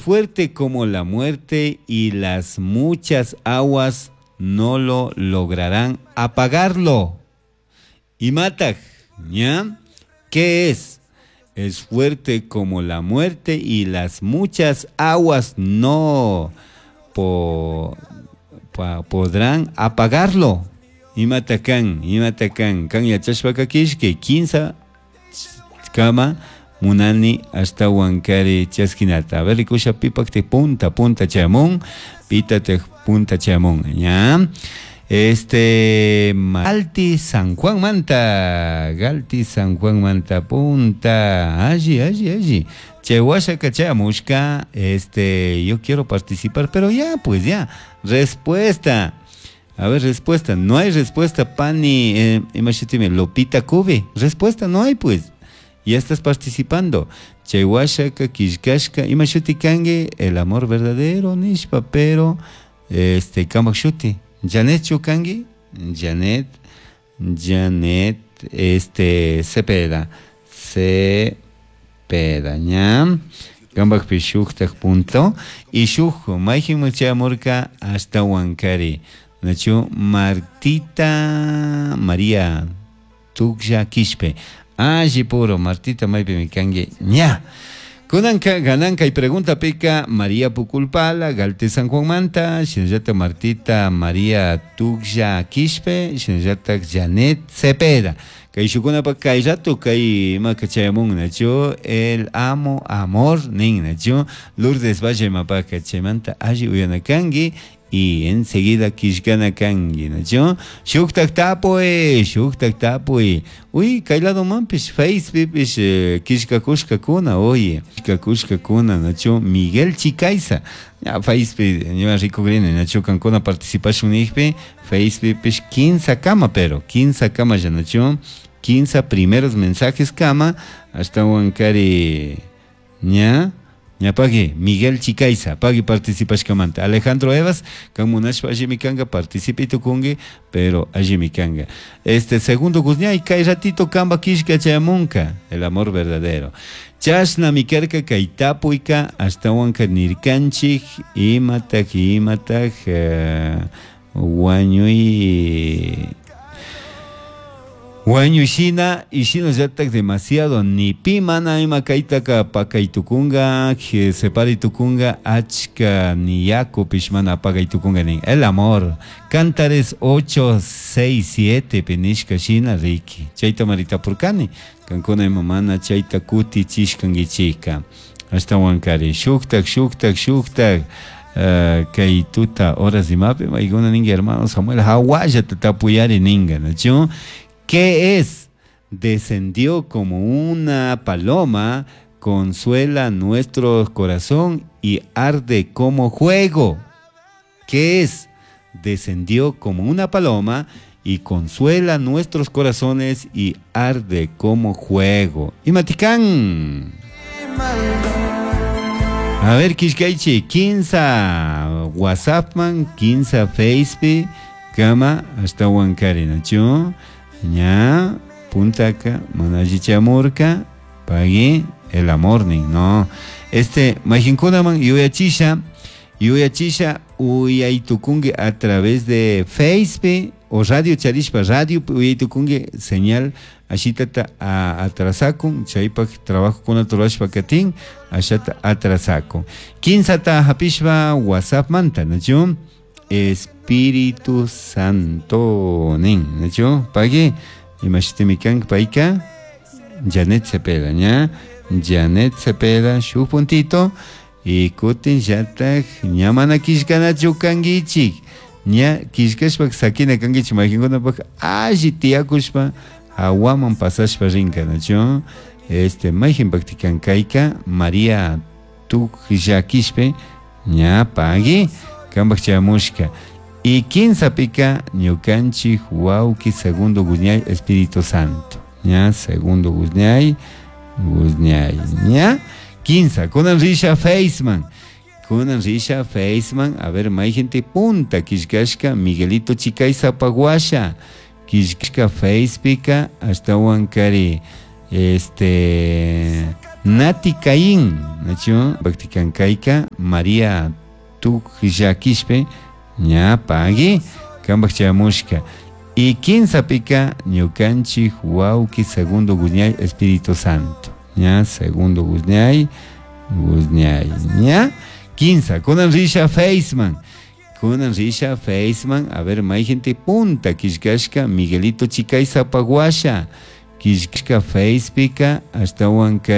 fuerte como la muerte y las muchas aguas no lo lograrán apagarlo. Imataj, ¿ya? ¿Qué es? Es fuerte como la muerte y las muchas aguas no podrán apagarlo. Imatakan, imatakan, kan yachashpaka kishke, 15 kama munani ashtawankari chaskinata. A ver, rikusha pipakti punta, punta chamun, pitate punta chamun, ¿ya? Este, Galti San Juan Manta, Galti San Juan Manta, punta, allí, allí, allí. Che, cachamushka, este, yo quiero participar, pero ya, pues ya, respuesta. A ver, respuesta, no hay respuesta, Pani, imagínate, Lopita Cube, respuesta no hay, pues. Ya estás participando. Chewashaka, Kishkashka, imashuti kangue, el amor verdadero, nishpa, pero, este, kamashuti. Janet Chukangi, Janet, Janet, este, Cepeda, Cepeda, ña, Kambakpi shuktak punto, y shuk, mayjin chamurka hasta Huancari, nachu Martita María Tuksha Quispe, alli puro, Martita maypi mikangi, ña. Kunanka gananka y pregunta pica María Puculpala, Galte San Juan Manta, shinallata Martita María Tuksha Quispe, shinallata Janet Cepeda. Kay shukunapa kay rato kay ima kachayamun nachu el amo amor nin nachu Lourdes Valle mapaka chaymanta alli uyanakanki y enseguida kishkana kanki nachu shuktak tapuy shuktak tapuy uy kay lado manpish Facebook pish kishkakushkakuna oye kishkakushkakuna nachu Miguel Chicaiza ya Facebook ña rikukrini nachu kankuna participashun nijpi Facebook pish 15 kama pero 15 kama ya nachu 15 primeros mensajes kama hasta wankari ña ña pagui Miguel Chicaiza pagui participashkamanta Alejandro Evas kan munashpa allimi kanga participe tukungi pero allimi kanga este segundo guzñay kay ratito kamba kishka chayamunka el amor verdadero chashna mikarka kay tapuyka ashtawanka nirkanchik imatak imatak wañuy Wañushina y shinallatak demasiado ni pi mana ima kaytaka pakaytukunga separaytukunga achka ni yakupish mana apagaytukunga nin el amor Cantares 8 6 7 pinishka shina riki chayta maritapurkani kankuna ima mana chayta kutichishkankichika ashtawankari shuktak shuktak shuktak kay tuta horas imapi maykuna ninka hermano Samuel hawallata tapuyari ninka nachu. ¿Qué es? Descendió como una paloma, consuela nuestro corazón y arde como juego. ¿Qué es? Descendió como una paloma y consuela nuestros corazones y arde como juego. Y Maticán. A ver, Kishkaichi, 15 WhatsApp man, 15 Facebook, kama hasta Huancari, ¿no? Ña, puntaka, manallichamurka, pagui el amor no. Este, majinkunaman yuyachisha, yuyachisha, uyaytukungi a través de Facebook o radio charishpa, radio uyaytukungi señal ashitata atrasakun, chaypak trabajo kuna turashpa katin, ashata atrasakun. 15 hapishpa WhatsApp manta, ¿no? Espíritu Santo nin, ¿no? Pagui, imashitimikan paika, Janet Cepeda, ña, Janet Cepeda, shu puntito, y kutin yatak, ña mana kishkanachu kankichik, ña kishkashpa sakina kankichik, mayqinkunapak alli tiyakushpa, hawaman pasashpa rinka, ¿no? Este, mayqinpakti kayka, María Tukllakishpe, ña pagui, kampak chayamushka. Y 15 pika ñukanchik wawki segundo Guzñay Espíritu Santo. Ña segundo Guzñay, Guzñay, ña 15 kunan risha Faceman. Kunan risha Faceman, a ver, mayqinti punta kishkashka Miguelito Chicaiza Paguasha. Kishkashka Facepika ashtawankari este Nati Caín, nachu Bhaktikan kayka María Tukllakishpe ña pagui kambak chayamushka. Y kinsapika ñukanchik wawki Segundo Guzñay Espíritu Santo. Ña Segundo Guzñay, Guzñay, ña kinsa. Kunan risha Faceman. Kunan risha Faceman. A ver, gente punta killkashka Miguelito Chicaiza Paguasha. Killkashka Facepika ashtawan kari.